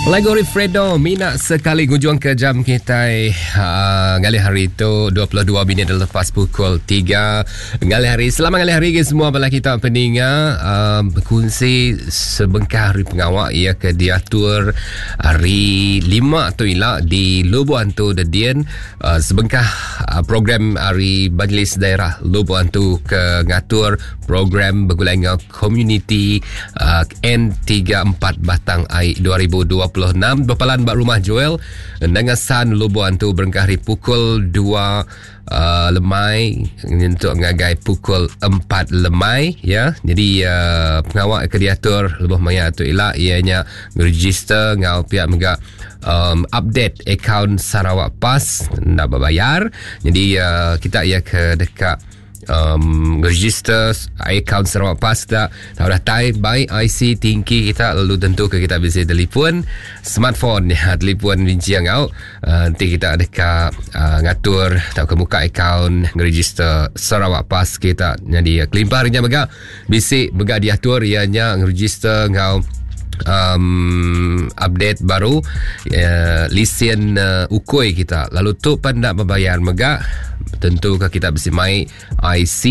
Lagu ari Fredo mina sekali ngujung ke jam kitai uh, ngalih hari tu 22 minit lepas pukul 3 ngalih hari. Selamat ngalih hari ke semua bala kita peninga uh, berkongsi sebengkah hari pengawa ia ke diatur hari 5 tu ila di Lubuk Antu Dedian uh, sebengkah uh, program hari Majlis Daerah Lubuk Antu ke ngatur program begulai enggau Komuniti uh, N34 Batang Ai 2026 berpalan ba Rumah Joel Nangasan Lubuk Antu berengkah hari pukul 2 uh, lemai nyentuk ngagai pukul 4 lemai ya. Jadi uh, pengawa ke diatur lebuh maya tu ila ianya register ngau pihak mega um, update account Sarawak Pass enda berbayar. Jadi uh, kita ia ke dekat um, register account Sarawak Pass kita tahu datai baik IC tingki kita lalu tentu ke kita bisa telefon smartphone ya telefon binci ngau uh, nanti kita dekat uh, ngatur atau ke muka account register Sarawak Pass kita jadi uh, kelimpah harinya mega bisi mega diatur ianya register ngau um, update baru uh, lisen uh, ukui kita lalu tu pan nak berbayar mega tentu ke kita bisi mai IC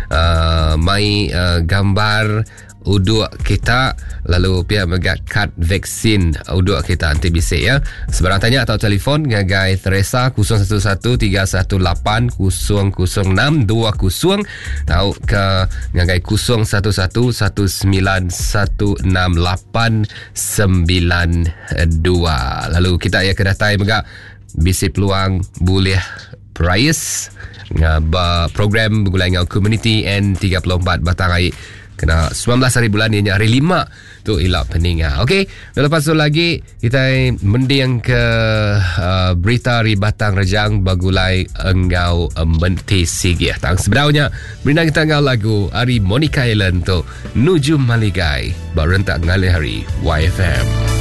uh, mai uh, gambar uduk kita lalu pihak mega kad vaksin uduk kita nanti bisa ya sebarang tanya atau telefon ngagai Teresa 011 318 006 20 tau ke ngagai 0111916892 lalu kita ya ke datai mega bisi peluang boleh prize ba program begulai enggau community N34 Batang Ai kena 19 hari bulan ni hari 5 tu ila peninga. Okey, lepas tu lagi kita mending ke uh, berita ari Batang Rejang bagulai enggau Menti Sigih. Tang sebenarnya berina kita enggau lagu ari Monica Island tu Nuju Maligai ba rentak ngalih hari YFM.